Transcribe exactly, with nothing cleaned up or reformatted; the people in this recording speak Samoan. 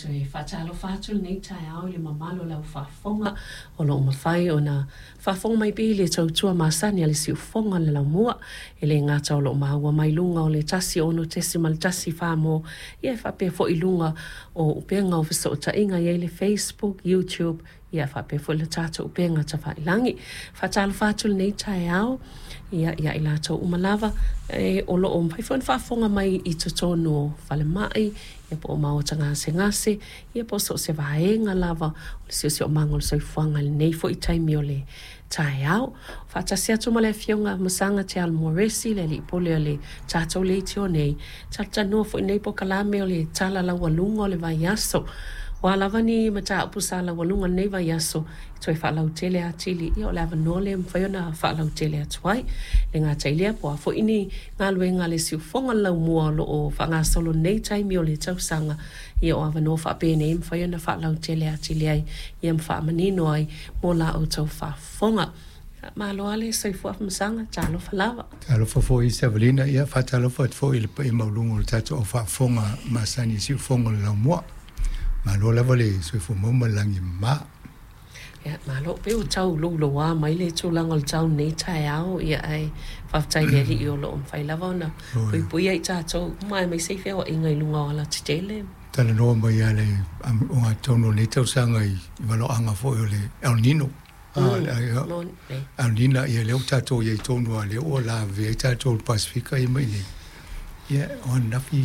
Toe faatalofa atu lenei taeao i le mamalu o lau faafofoga o lo o mafai ona faafofoga mai pea i le tautua masani a le siufofoga o le laumua. E le gata o lo o maua mai luga o le tasi ono tesima le tasi Samoa, ia e faapea foi i luga o upega o fesootaiga e i ai le Facebook, YouTube, ia faapea foi le tatou upega tafailagi. Faatalofa atu lenei taeao ia ia i latou uma lava e o lo o mafai foi ona faafofoga mai i totonu o falemai, ia po o maota gasegase, ia po o so o se vaega lava o le siosiomaga o le soifuaga i lenei foi taimi o le taeao. Faatasi atu ma le Afioga Masaga Te Alomua Resi, le alii pule o le tatou leitio nei, talatalanoa foi nei polokalame o le tala laualuga o le vaiaso. O a lava ni mataupu sa laualuga i lenei vaiaso e toe faalautele atili, ia o le avanoa lea e mafai ona faalautele atu ai. E le gata i lea, po o a foi ni galuega a le siufofoga o le laumua o lo o faagasolo nei taimi o le tausaga, ia o avanoa faapenei e mafai ona faalautele atili ai ia ma faamanino ai mo la outou faafofoga. Malo lava le soifua Afamasaga, talofa lava. Talofa foi Savalina, ia faatalofa atu foi i le paia maualuga o le tatou au faafofoga masani i siufofoga o le laumua. Malo lava le soifua maua ma le lagi e mama. Ia, malo pei ua tau louloua mai le tulaga o le tau nei taeao, ia ae faafetai i le Alii o lo o mafai lava ona puipuia i tatou uma aemaise i feoaiga i luga o alatetele. Talanoa mai lava le ogatotonu o lenei tausaga i valoaga foi o le El Nino. El Nina, ia lea ua tatou i ai tonu lava, lea ua lavevea ai tatou i le Pasefika ia ma i inei. Ia, o ananafi